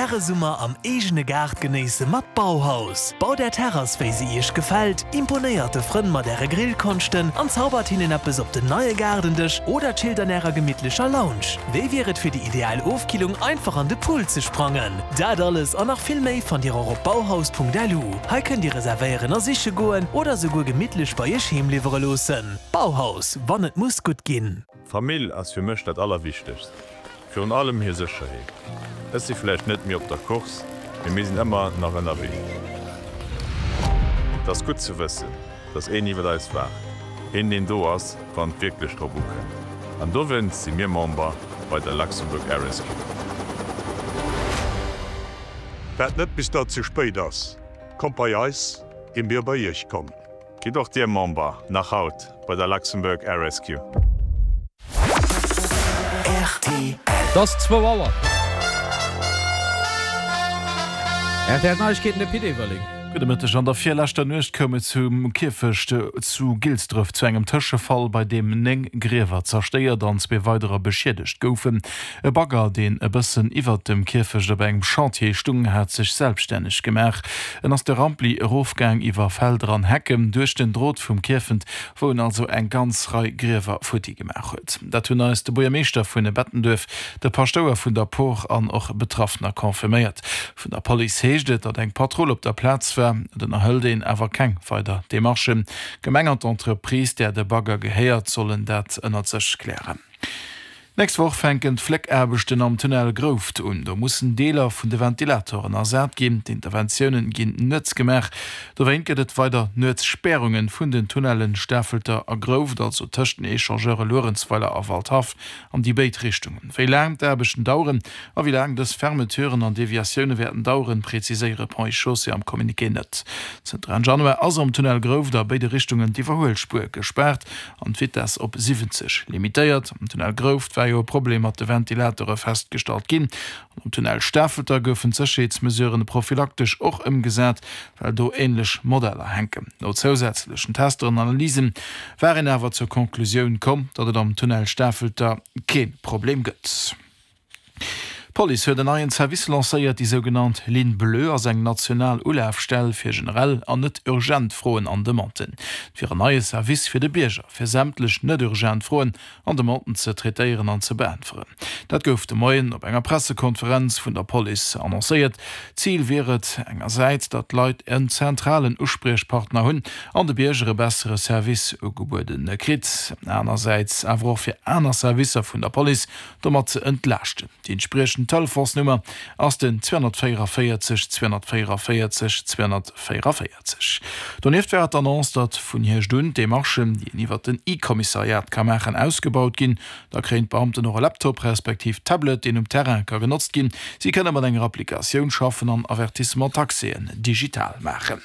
Äre Summer am eegene Gaart genéisse mat Bauhaus. Baut Är Terrass wéi se Iech gefält, imponéiert de Frënn mat Äre Grillkonschten an zaubert hinnen eppes op den neie Gaardendësch oder chillt an Ärer gemittlecher Lounge. Wéi wier et fir déi ideal Ofkillung einfach an de Pool ze sprangen? Dat alles an nach vill méi fannt Dir och op bauhaus.lu. Hei kënnt Dir reservéieren a siche goen oder souguer gemittlech bei Iech heem liwwere loossen. Bauhaus, wann et muss gutt ginn. Famill ass fir mech dat Allerwichtegst, virun allem hir Sécherheet. Ech si vläicht net méi op der Course, mee mir sinn ëmmer nach ënnerwee. Et ass gutt ze wëssen, dass een iwwer eis waacht, een deen do ass, wann et wierklech drop ukënnt. An dowéinst si mir Member bei der Luxembourg Air Rescue. Waart net bis dat ze spéit ass, kommt bei eis, ier mir bei iech kommen. Gitt och Dir Member, nach haut, bei der Luxembourg Air Rescue. Rtl. Et ass zwou Auer. Rtl Neiegkeeten, de Pit Everling. Gudde Mëtteg. An der virleschter Nuecht koum et zum Kierfecht zu Gilsdref zu engem Tëschefall, bei deem 9 Griewer zerstéiert an zwee weiderer beschiedegt goufen. E Bagger, deen e bëssen iwwert dem Kierfecht op engem Chantier stung, hat sech selbstänneg gemaach. En ass de Rampli erofgaang iwwer Felder an Hecken, duerch den Drot vum Kierfent, wou en also eng ganz Rei Griewer futti gemaach huet. Dat hunn eis de Buergermeeschter vun Bettenduerf, de Paschtouer vun der Por an och Betraffener confirméiert. Vun der Police heescht et, datt eng Patrull op der Plaz war. Et ënnerhëlt een awer keng weider Demarchen. D'Gemeng an d'Entreprise, där de Bagger gehéiert, sollen dat ënnert sech klären. D'nächst Woch fänken d'Fléckaarbechten am Tunnel Grouft un. Do mussen Deeler vun de Ventilatoren ersat ginn. D'Interventiounen ginn nuets gemaach. Dowéint gëtt et weider Nuetsspäerungen vun den Tunnellen Stafelter a Grouft, also tëscht den Echangeure Luerenzweiler a Waldhaff, an déi béid Richtungen. Wéi laang d'Aarbechten daueren a wéi laang dës Fermeturen an Deviatioune wäerten daueren, preziséiere Ponts et Chaussées am Communiqué net. Zënter Enn Januar ass am Tunnel Grouft a béide Richtungen d'Iwwerhuelspuer gespaart. an d'Vitess op 70 limitéiert. Am Tunnel Grouft war jo e Problem mat de Ventilateure festgestallt ginn. An am Tunnel Stafelter goufen d'Sécherheetsmesuren prophylaktesch och ëmgesat, well do änlech Modeller hänken. No zousätzlechen Tester an Analyse war een awer zur Conclusioun komm, datt et am Tunnel Stafelter kee Problem gëtt. D'Police huet en neien Service lancéiert. Déi sougenannt Ligne bleue ass eng national Ulafstell fir generell an net urgent Froen an Demanden. Et wier en neie Service fir de Bierger, fir sämtlech net urgent Froen an Demanden ze traitéieren an ze beäntweren. Dat gouf de Moien op enger Pressekonferenz vun der Police annoncéiert. Zil wier et engersäits, datt d'Leit en zentralen Uspriechpartner hunn an de Bierger e bessere Service ugebuede kritt, anersäits awer och fir aner Servicer vun der Police domat ze entlaaschten. Déi entspriechend Telefonsnummer ass den 244 244 244. Donieft war et d'Annonce, datt vun Hierscht un d'Demarchen, déi een iwwert den E-Kommissariat ka maachen, ausgebaut ginn. Da kréien d'Beamten och e Laptop respektiv Tablet, deen um Terrain ka genotzt ginn. Si kënne mat enger Applikatioun schaffen an Avertissement-taxéen digital maachen.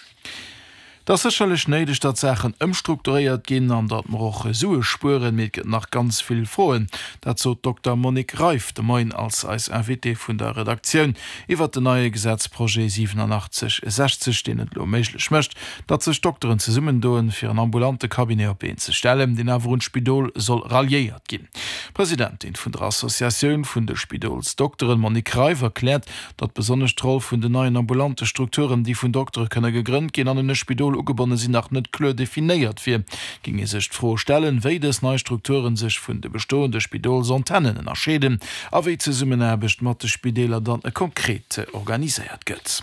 Et ass sécherlech néideg, datt Saachen ëmstrukturéiert ginn an datt mer och Sue spueren, mee et gëtt nach ganz vill Froen. Dat sot d'Dokter Monique Reiff de Moien als eis Invitée vun der Redaktioun iwwert den neie Gesetzprojet 8760, deen et elo méiglech mécht, datt sech Dokteren zesummendoen, fir en ambulante Cabinet op d'Been ze stellen, deen awer un d'Spidol soll ralliéiert ginn. D'Presidentin vun der Associatioun vun de Spidolsdokteren, Monique Reiff, erkläert, datt besonnesch d'Roll vun den neien ambulante Strukturen, déi vun Doktere kënne gegrënnt ginn an un e Spidol ugebonne sinn, nach net kloer definéiert wier, géing ee sech d'Fro stellen, wéi dës nei Strukturen sech vun de bestoende Spidolsantennen ënnerscheeden a wéi d'Zesummenaarbecht mat de Spideeler dann konkret organiséiert gëtt.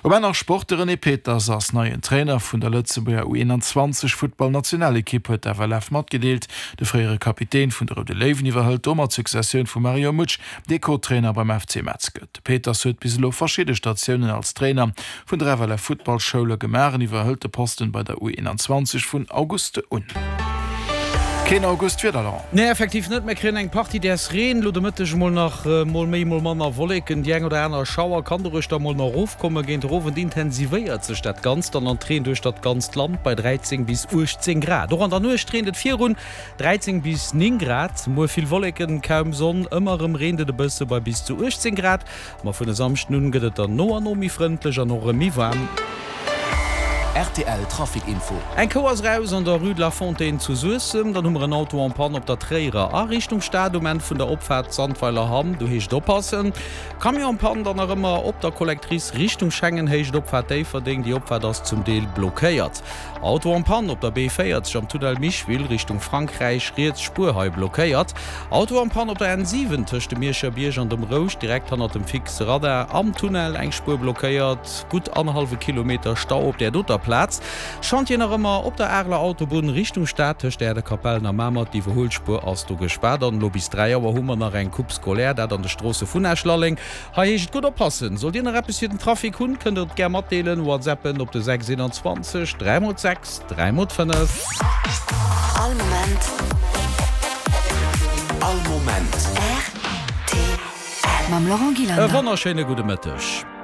Um Enn nach Sport, De René Peters ass neien Trainer vun der Lëtzebuerger U21 Futtballnationalekipp, huet d'FLF matgedeelt. De fréiere Kapitän vun de Roude Léiwen iwwerhëlt domat d'Successioun vum Mario Mutsch, dee Co-Trainer beim FC Metz gëtt. De Peters huet bis elo verschidde Statiounen als Trainer vun der FLF Futtballschoule gemaach an iwwerhëlt de Posten bei der U21 vun August un. Keen August Wieder, Laurent? Nee, effektiv net. Mir kréien eng Partie däers Reen elo de Mëtteg, mol nach mol méi, mol manner Wolleken. Déi eng oder aner Schauer kann doruechter mol nach erofkommen. Géint de Owend intensivéiert sech dat Ganzt dann an d'Reen duerch dat ganzt Land bei 13 bis 18 Grad. Och an der Nuecht reent et virun, 13 bis 9 Grad, muer vill Wolleken, kaum Sonn, ëmmer erëm reent et e bësse bei bis zu 18 Grad. Ma vun e Samschden un gëtt et dann no an no méi frëndlech an och erëm méi waarm. Rtl Trafic Info. Eng Kou ass raus an der Rue de la Fontaine zu Suessem. Dann hu mer en Auto en panne op der Tréierer a Richtung Stad um Enn vun der Opfaart Sandweiler Hamm. Do heescht et oppassen. Camion en panne dann nach ëmmer op der Collectrice Richtung Schengen, Héicht Opfaart Déifferdeng. Déi Opfaart ass zum Deel blockéiert. Auto en panne op der B40 am Tunnel Micheville Richtung Frankräich, riets Spuer hei blockéiert. Auto en panne op der N7 tëscht dem Mierscher Bierg an dem Rouscht, direkt hannert dem fixe Radar am Tunnel, eng Spuer blockéiert. Gutt annerhallwe Kilometer Stau op där doter Plaz. Chantier nach ëmmer op der Areler Autobunn Richtung Stad tëscht Äerdekapellen a Mamer, d'Iwwerhuelspuer ass do gespaart. An elo bis 3 Auer hu mer nach eng Coupe scolaire, dat an de Stroosse vun Esch-Lalleng. Hei heescht et gutt oppassen! Sollt Dir nach eppes fir den Trafic hunn, kënnt der et gär matdeelen. WhatsAppen op de 6 21 3 x 6 3 x 5. All Moment. All Moment. Rtl. Mam Laurent E Gillander. wonnerschéine gudde Mëtteg.